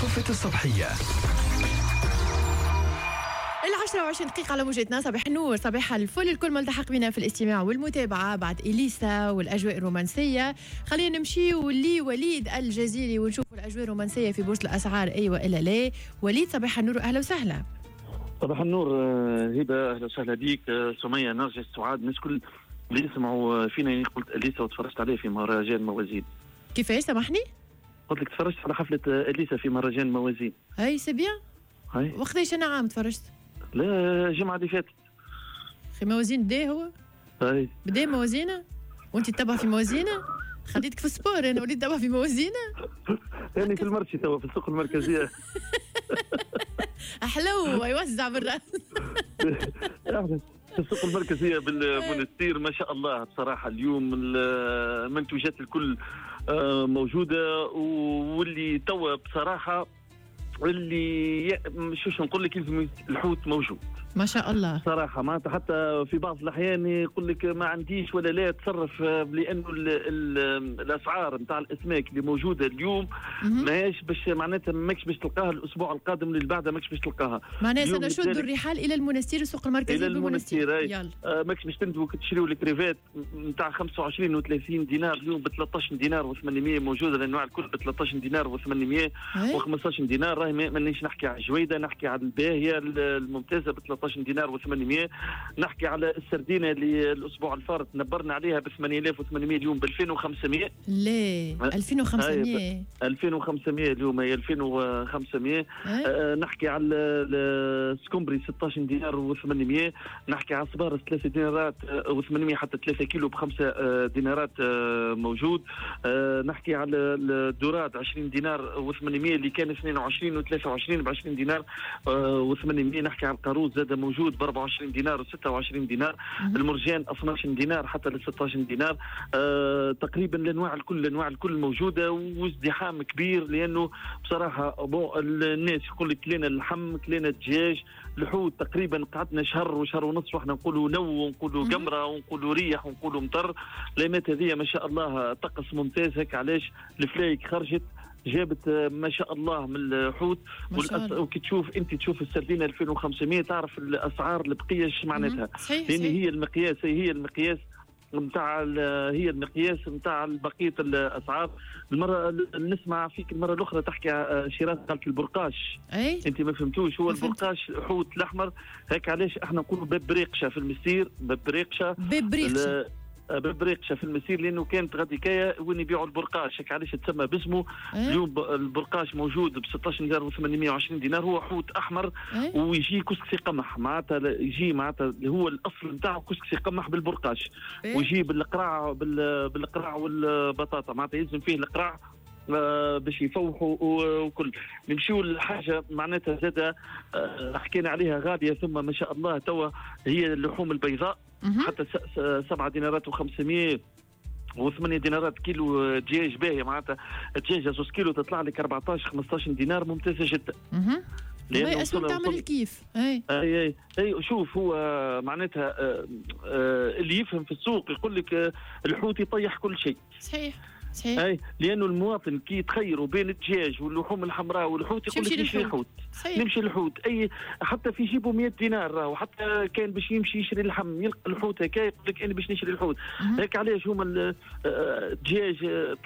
قفة الصبحية. 10:20 على موجتنا. صباح النور، صباح الفل الكل ملتحق بنا في الاستماع والمتابعة بعد إليسا والأجواء الرومانسية. خلينا نمشي لوليد الجزيري ونشوف الأجواء الرومانسية في بورصة الأسعار، أي وإلا لا. وليد صباح النور، أهلا وسهلا. صباح النور هبة، أهلا وسهلا بيك. سمية، نرجس، سعاد، الناس كل اللي يسمعوا فينا. يعني قلت إليسا وتفرجت عليه في مهرجان موازين. كيفاش سامحني؟ قلت لك تفرجت على حفلة إليسا في مهرجان موازين. أي c'est bien. وقتاش أنا عام تفرجت؟ لا الجمعة اللي فاتت. في موازين بدا هو؟ أي بدا موازينة؟ وأنت تتبع في موازينة؟ خليتك في ال sport أنا وليت تتبع في موازينة؟ يعني في ال marché توا في السوق المركزية. أحلو يوزع بالرأس. في السوق المركزية بالمونستير ما شاء الله بصراحة اليوم المنتوجات الكل موجودة، واللي توا بصراحة اللي شو نقول لك الحوت موجود ما شاء الله صراحة. معناتها حتى في بعض الأحيان يقول لك ما عنديش ولا لا تصرف، لأنه الأسعار نتاع الأسماك اللي موجودة اليوم ماهيش باش معناتها ماكش باش تلقاها الأسبوع القادم اللي بعده، ماكش باش تلقاها. معناها سنشد الرحال إلى المنستير، السوق المركزي إلى المنستير. يلا ماكش باش تندوك تشريو الكريفات نتاع 25 و30 دينار اليوم ب 13 دينار و800 موجودة، الأنواع الكل ب 13 دينار و800 و15 دينار. راهي مانيش نحكي على الجويدة، نحكي على الباهية الممتازة ب 13 دينار و800، نحكي على السردينة اللي الأسبوع الفارط نبرنا عليها ب 8800 اليوم ب 2500. ليه 2500؟ 2500 اليوم هي 2500. نحكي على السكومبري 16 دينار و800، نحكي على الصبارس 3 دينارات و800 حتى 3 كيلو ب 5 دينارات موجود. نحكي على ال dorade 20 دينار و800 اللي كان 22 و23 ب 20 دينار و800. نحكي على القاروص زاد موجود ب 24 دينار و26 دينار. المرجان 12 دينار حتى ل 16 دينار. تقريبا الانواع الكل، الانواع الكل موجودة وازدحام كبير، لانه بصراحة bon الناس يقول لك كلينا اللحم، كلينا الدجاج، الحوت تقريبا قعدنا شهر وشهر ونص واحنا نقولوا نو ونقولوا قمره ونقولوا ريح ونقولوا مطر. الايامات هذه ما شاء الله طقس ممتاز، هيك علاش الفلايك خرجت جابت ما شاء الله من الحوت. وكي تشوف انت تشوف السردينه 2500 تعرف الاسعار البقية ايش معناتها، لان هي المقياس، هي المقياس نتاع، هي المقياس نتاع بقية الاسعار. المرة نسمع فيك المرة الاخرى تحكي شيراز قالت البرقاش. أي؟ انت ما فهمتوش، هو البرقاش حوت الاحمر، هيك علاش احنا نقولوا باب بريقشه في المسير، باب بريقشه، باب بريقشه، باب بريقشه في المسير، لانه كانت غاديكايه وين يبيعوا البرقاش، هيك علاش تسمى باسمه. اليوم البرقاش موجود ب 16 دينار و820 دينار، هو حوت احمر. ويجي كسكسي قمح، معناتها يجي معناتها هو الاصل نتاعو كسكسي قمح بالبرقاش. ويجي بالقراع، بالقراع والبطاطا، معناتها يلزم فيه القراع باش يفوحوا وكل. نمشيو لحاجة معناتها زاده حكينا عليها غالية ثم ما شاء الله توا، هي اللحوم البيضاء حتى 7 دينارات و500 و8 دينارات كيلو دجاج باهي، معناتها دجاجه 2 كيلو تطلع لك 14 15 دينار، ممتازة جدا. لانه تعمل الكيف. اي اي اي شوف هو معناتها اللي يفهم في السوق يقول لك الحوت يطيح كل شيء. صحيح صحيح. اي لانه المواطن كي يتخيروا بين الدجاج واللحوم الحمراء والحوت يقول لك نمشي الحوت، نمشي الحوت. اي حتى في جيبه 100 دينار راهو، حتى كان باش يمشي يشري اللحم يلقى الحوت هكا يقول لك انا باش نشري الحوت. هيك علاش هما الدجاج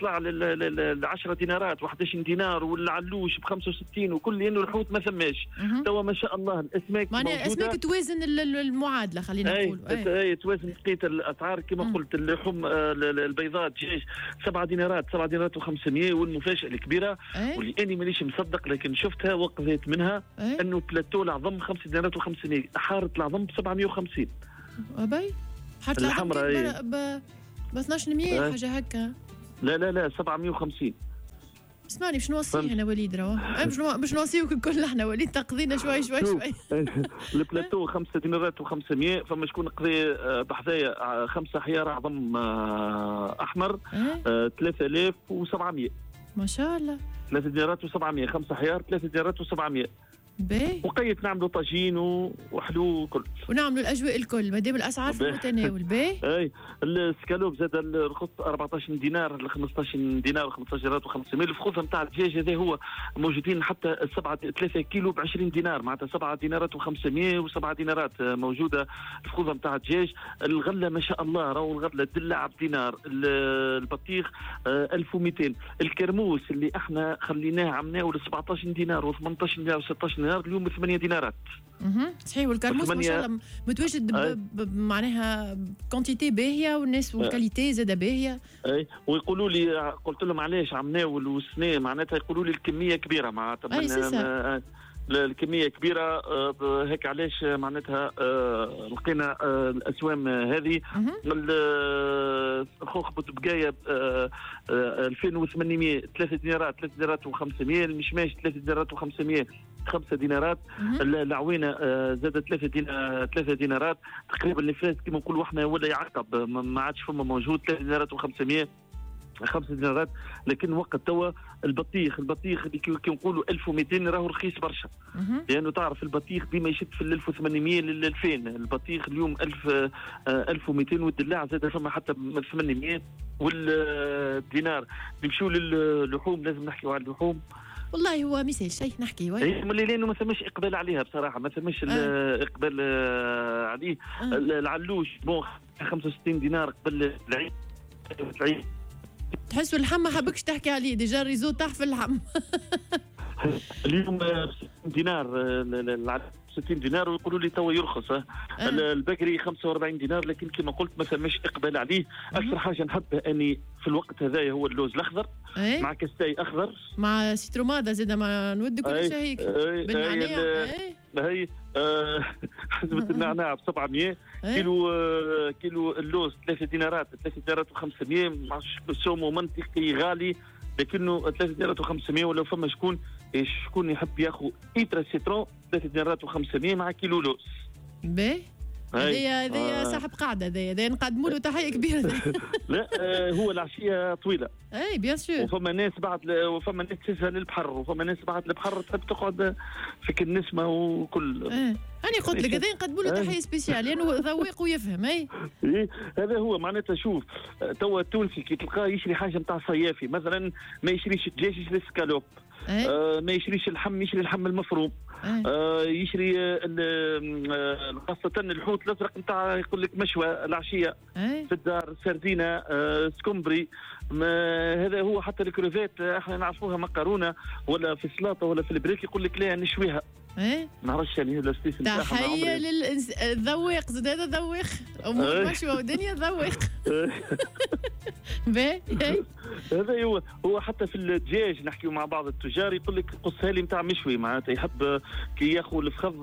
طلع ل 10 دينارات و11 دينار والعلوش ب 65 وكل، لانه الحوت ما ثماش. توا ما شاء الله الاسماك معناها الاسماك توازن المعادلة، خلينا نقول اي توازن بقية الاسعار كما قلت. اللحوم البيضاء الدجاج 7 دينارات، 7 دينارات و500. والمفاجأة الكبيرة واللي أنا مانيش مصدق لكن شفتها وقضيت منها، أنه بلاتو العظم 5 دينارات و500، حارة العظم ب 750. أبي حارة العظم ب 1200 حاجة هكا. لا لا لا 750. اسمعني باش نوصيه انا وليد، راهو باش نوصيوك الكل احنا وليد، تقضينا شوي شوي شوي. البلاتو 5 دينارات و500، فما شكون قضي بحذايا 5 حيار عظم احمر 3700. ما شاء الله. 3 دينارات و700، 5 حيار 3 دينارات و700. باهي. وقيت نعملوا طاجين وحلو وكل، ونعملوا الاجواء الكل مادام الاسعار في المتناول. باهي. اي السكالوب زاد الرخص 14 دينار ل 15 دينار 15 دينار و500. الفخوذ نتاع الدجاج هذا هو موجودين حتى 7 3 كيلو ب 20 دينار، معناتها 7 دينارات و500 و7 دينارات موجودة الفخوذ نتاع الدجاج. الغلة ما شاء الله راهو الغلة الدلع بدينار، البطيخ 1200، الكرموس اللي احنا خليناه عملناه ل 17 دينار و18 دينار و16 دينار، اليوم 8 دينارات. صحيح. والكرموس ما شاء الله متواجد معناها quantité باهيه والناس وال qualité زاده باهيه. اي ويقولوا لي، قلت لهم علاش عمناول والسنة معناتها، يقولوا لي الكمية كبيرة معناتها الكمية كبيرة، هيك علاش معناتها لقينا الاسوام هذه. الخوخ بوتبقايه 2800، 3 دينارات، 3 دينارات و500، المشماش 3 دينارات و500، 5 دينارات، العوينة زادت 3 دينارات تقريبا. الفلاس كما نقولوا احنا ولا يعقب، ما عادش فما موجود، 3 دينارات و500، 5 دينارات. لكن وقت توا البطيخ اللي كي نقولوا 1200 راهو رخيص برشا، لانه تعرف البطيخ ديما يشد في 1800 لل 2000، البطيخ اليوم 1200، والدلاع زاد فما حتى 800 والدينار. نمشيو للحوم، لازم نحكيو على اللحوم. والله هو مثال شيء نحكي لانه ما ثماش اقبال عليها بصراحة، ما ثماش اقبال عليه. العلوش bon 65 دينار قبل العيد. تحسوا اللحم ما حبكش تحكي عليه، déjà ال réseau طاح في اللحم. اليوم 60 دينار، 60 دينار، ويقولوا لي توا يرخص. البكري 45 دينار، لكن كما قلت ما ثماش اقبال عليه. اكثر حاجة نحبها اني في الوقت هذايا هو اللوز الاخضر مع كستاي اخضر مع citromada زاد، ما نود كل شيء هيك بالنعناع. هي حزمه النعناع ب 700، كيلو اللوز 3 دينارات، 3 دينارات و500، سومه منطقي غالي لكنه 3 دينارات و500. ولو فما شكون يحب ياخذ ايترا citron 3 دينارات و500 مع كيلو لوز. باهي. هذايا صاحب قاعدة، هذايا نقدموا له تحية كبيرة. لا هو العشية طويلة. اي bien sûr. وفما ناس بعد، وفما ناس تسهل للبحر، وفما ناس بعد البحر تحب تقعد في النسمه وكل. انا قلت لك هذا نقدموا له تحية spéciale لانه ذواق ويفهم. اي هذا هو معناتها. شوف توا التونسي كي تلقاه يشري حاجة نتاع صيافي مثلا، ما يشريش الدجاج يشري سكالوب، ما يشريش اللحم يشري اللحم المفروم، يشري خاصة الحوت الأزرق نتاع يقول لك مشوى العشية في الدار، سردينة، سكمبري. هذا هو. حتى الكروفات احنا نعرفوها مكرونة ولا في السلطة ولا في البريك، يقول لك لا نشويها. ما نعرفش يعني الاستيس نتاعها. تحية للذواق زاد، هذا ذواق مشوى ودنيا ذواق. باهي. هذا هو حتى في الدجاج نحكيو مع بعض التجار يقول لك قصها لي نتاع مشوي، معناتها يحب كي ياخذ الفخذ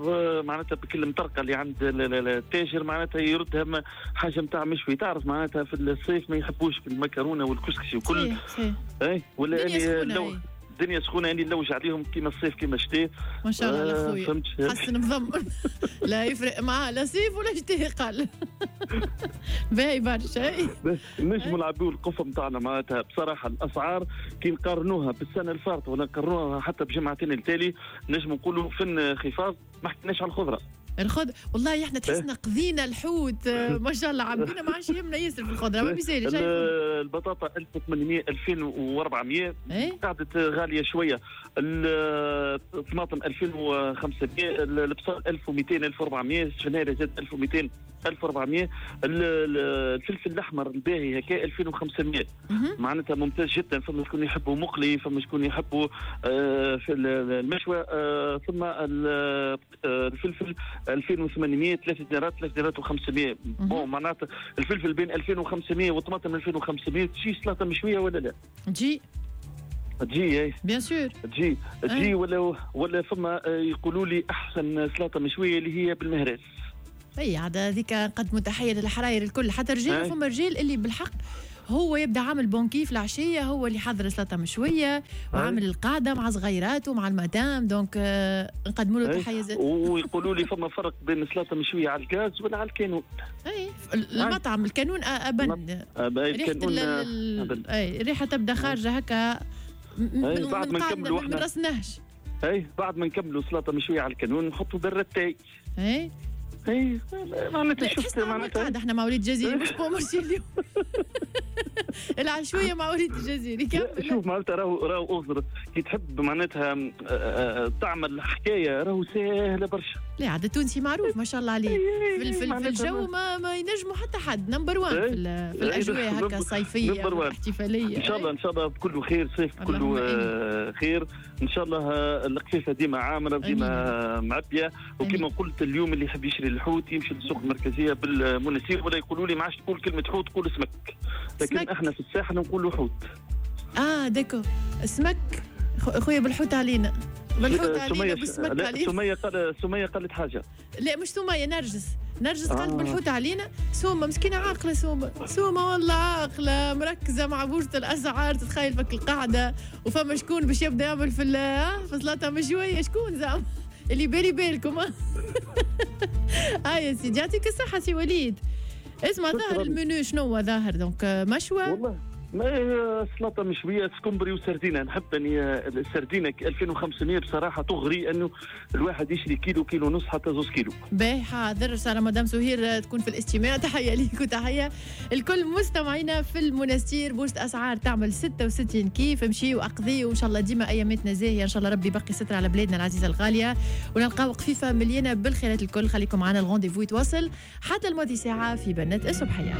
معناتها بكل مطرقه اللي عند التاجر معناتها يردها حاجة نتاع مشوي. تعرف معناتها في الصيف ما يحبوش في المكرونه والكسكسي وكل. اي ولا اني الدنيا سخونة اني نلوج عليهم كيما الصيف كيما الشتاء. ما شاء الله على خويا حسن مضمن لا يفرق معاه لا صيف ولا شتاء قال. باهي برشا. نجموا نلعبوا القفه نتاعنا معناتها بصراحة. الاسعار كي نقارنوها بالسنة الفارطه ولا نقارنوها حتى بجمعتين التالي نجموا نقولوا في انخفاض. ما حكيناش على الخضرة. الخضرة والله احنا تحسنا قضينا الحوت ما شاء الله عبينا، ما عادش يهمنا ياسر في الخضرة. ما بيسالش. البطاطا 1800 2400 قعدت غالية شوية. الطماطم 2500، البصل 1200 1400، السفناريا زاد 1200 1400، الفلفل الاحمر الباهي هكا 2500، معناتها ممتاز جدا. فما شكون يحبوا مقلي، فما شكون يحبوا في المشوى. ثم الفلفل 2800، 3 دينارات، 3 دينارات و500. bon معناتها الفلفل بين 2500 والطماطم 2500. تجي سلطة مشوية ولا لا؟ تجي تجي bien sûr تجي ولا فما يقولوا لي احسن سلطة مشوية اللي هي بالمهراس. اي عاد هذيك نقدموا تحية للحراير الكل، حتى رجال. فما رجال اللي بالحق هو يبدا عامل bon كيف العشية، هو اللي حضر سلطة مشوية وعامل القعدة مع صغيراته مع المدام، donc نقدموا له تحية زاد. ويقولوا لي فما فرق بين سلطة مشوية على الغاز ولا على الكانون. اي المطعم الكانون ابن ريحه اي الريحة تبدا خارجه هكا بعد ما نكملوا احنا ما رسناش. اي بعد ما نكملوا سلطة مشوية على الكانون نحطوا براد تاي. اي اي معناتها شفت معناتها احنا مع وليد الجزيري مش bon marché اليوم. العشويه مع وليد الجزيري. كمل. شوف معناتها راهو اغزر كي تحب معناتها تعمل حكاية راهو ساهله برشا. لا عاد التونسي معروف ما شاء الله عليه في الجو ما ينجموا حتى حد، number 1 في الاجواء هكا الصيفية الاحتفالية. ان شاء الله ان شاء الله بكل خير، صيف كله خير ان شاء الله. القفيفه ديما عامرة ديما معبيه، وكما قلت اليوم اللي يحب يشري الحوت يمشي للسوق المركزية بالمنستير، ولا يقولوا لي ما عادش تقول كلمة حوت قول سمك، لكن سمك. احنا في الساحل نقولوا حوت. d'accord سمك خويا بالحوت علينا، بالحوت علينا بالسمك علينا. سمية قالت حاجة. لا مش سمية، نرجس قالت بالحوت علينا. سومة مسكينة عاقلة، سومة والله عاقلة مركزة مع بورصة الأسعار، تتخيل فك القعدة وفما شكون باش يبدا يعمل في سلطة مشوية، شكون زعما اللي بالي بالكم. هاي يا سيدي يعطيك الصحة سي وليد. اسمع ظاهر المنيو شنو هو ظاهر؟ donc مشوى والله ما هي سلطة مشوية سكمبري وسردينه. نحب اني السردينه 2500 بصراحة تغري انه الواحد يشري كيلو كيلو ونص حتى 2 كيلو. باهي حاضر، ان شاء الله مدام سهير تكون في الاستماع. تحية ليك وتحية الكل مستمعينا في المنستير. بورصة اسعار تعمل 66 كيف، امشي واقضي وان شاء الله ديما اياماتنا زاهيه، ان شاء الله ربي يبقي ستر على بلادنا العزيزة الغالية ونلقاو قفيفه مليانة بالخيرات الكل. خليكم معنا، ال rendez-vous يتواصل حتى الماضي ساعة في بنات الصبحية.